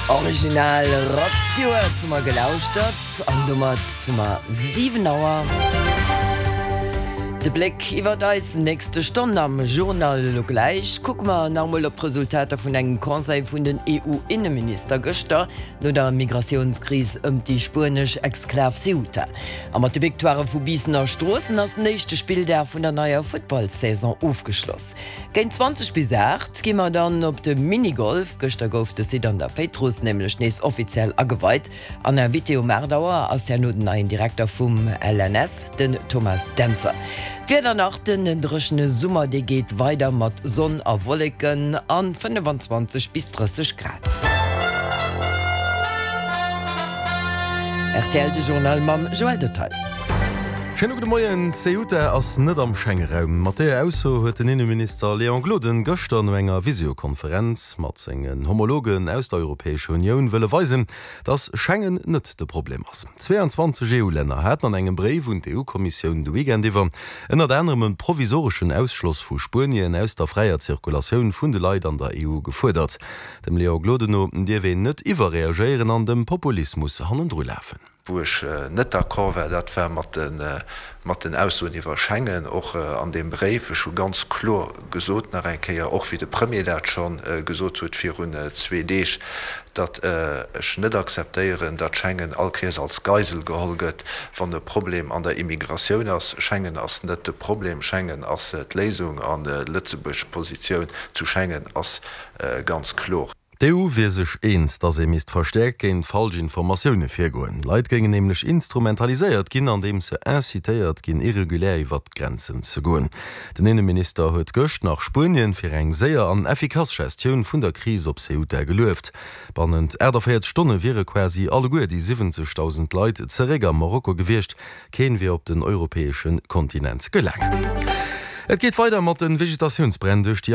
Original Rod Stewart hu mer gelauschtert an domat hu mer 7 Auer. De Bléck iwwert eis nächste Stonn am Journal elo gläich. Kucke mer nach emol op d'Resultater vun engem Conseil vun den EU-Inneminister gëschter no der Migratiounskris ëm déi spuenesch Exklav Ceuta. A mat de Victoirë vu Biissen a Stroossen ass den éischte Spilldag vun der neier Futtballsaison ofgeschloss. Géint 20 bis 8 gi mer dann op de Minigolf. Gëschter gouf de Site an der Péitruss nämlech nees offiziell ageweit an Invité um 8 Auer ass herno den neien Direkter vum LNS, den Thomas Dentzer. D'Wieder nach, Den dréchene Summer dee geet weider mat Sonn a Wolleken a 25 bis 30 Grad. Rtl, de Journal mam Joël Detaille. Schéine gudde Moien. Ceuta ass net am Schengeraum. Mat deeër Ausso huet den Inneminister Léon Gloden gëschter no enger Visiokonferenz mat sengen Homologen aus der Europäescher Unioun wëlle weisen, datt Schengen net de Problem ass. 22 EU-Länner haten an engem Bréif un d'EU-Kommissioun de Weekend iwwer ënnert anerem e provisoreschen Ausschloss vu Spuenien aus der fräier Zirkulatioun vun de Leit an der EU gefuerdert. Dem Léon Gloden no dierf een net iwwerreagéieren an dem Populismus hannendru lafen. Wou ech net d'accord war, dat war mat den Aussoen iwwer Schengen, och an deem Bréif. Ech hu ganz kloer gesot, nach eng Kéier, och wéi de Premier dat scho gesot huet virun zwee Deeg, datt ech net akzeptéieren, datt Schengen all Kéiers als Geisel geholl gëtt, wann e Problem an der Immigratioun ass. Schengen ass net de Problem, Schengen ass d'Léisung an Lëtzebuerg Positioun zu Schengen ass Ganz kloer. D'EU wier sech eens, datt ee misst verstäerkt géint falsch Informatioune virgoen. Leit géingen nämlech instrumentaliséiert ginn, andeems se incitéiert ginn, irregulär iwwert d'Grenzen ze goen. Den Inneminister huet gëscht nach Spuenien fir eng séier an effikass Gestioun vun der Kris op Ceuta gelueft. Bannent 48 Stonne wiere quasi alleguer déi 70.000 Leit zeréck a Marokko gewiescht. Keen wier op den europäesche Kontinent gelaangen. Et geet weider mat de Vegetatiounsbränn duerch déi.